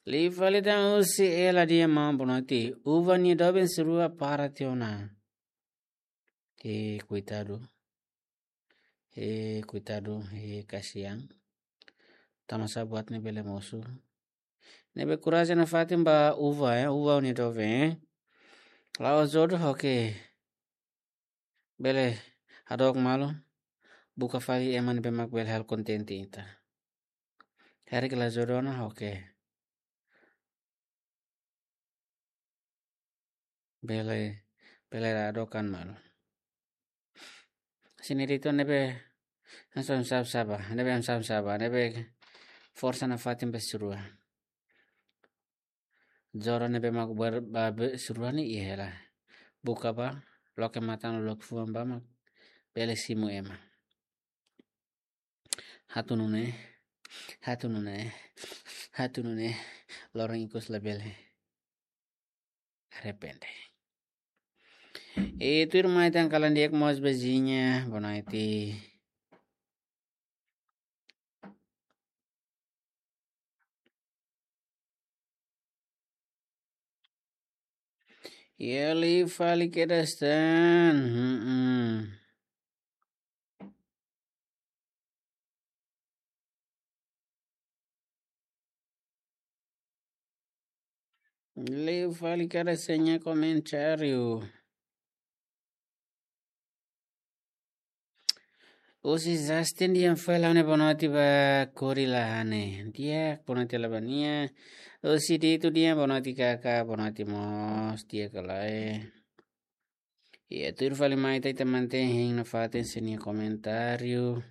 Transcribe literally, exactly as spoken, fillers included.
Liu fali tan husi Ela Diema, boa noite. Uva nia doben sirua para tiha ona. Eh, koitadu. Eh, koitadu, eh, kasihan. Tanbasá buat ne'e bele mosu. Ne'ebé korajen nafatin ba Uva, eh, Uva nia doben, eh. La'ós jodoh, oke. Bele hadook malu, buka fali ema ne'ebé mak bele halo kontente ita. Karik la jodoh ona, oke. Bele, bele hadook an malu. Sini ditu ne'ebé hanesan sab saba, ne'ebé hanesan saba, ne'ebé forsa nafatin ba sirua. Jodoh ne'ebé mak ber-, ba be sirua ne'e iha hela. Buka bá, loke matan, loke fuan bá mak bele simu ema. Hatu nune'e, hatu nune'e, hatu nune'e, loron ikus labele arrepende. E tuirmai tan kalan di'ak mós bezinha, boa noite. Iha liu fali kedas tan. Mm-mm. Liu fali kedas tan nia komentáriu. Husi Justin Dian fali ha'u-nia boa noite ba Kori Lahane. Di'ak, boa noite lai ba nia. Husi Ditu Dian, boa noite kaka, boa noite mós, di'ak ka lae. Iha tuir fali mai ita, ita mantein hein nafatin sira-nia komentáriu.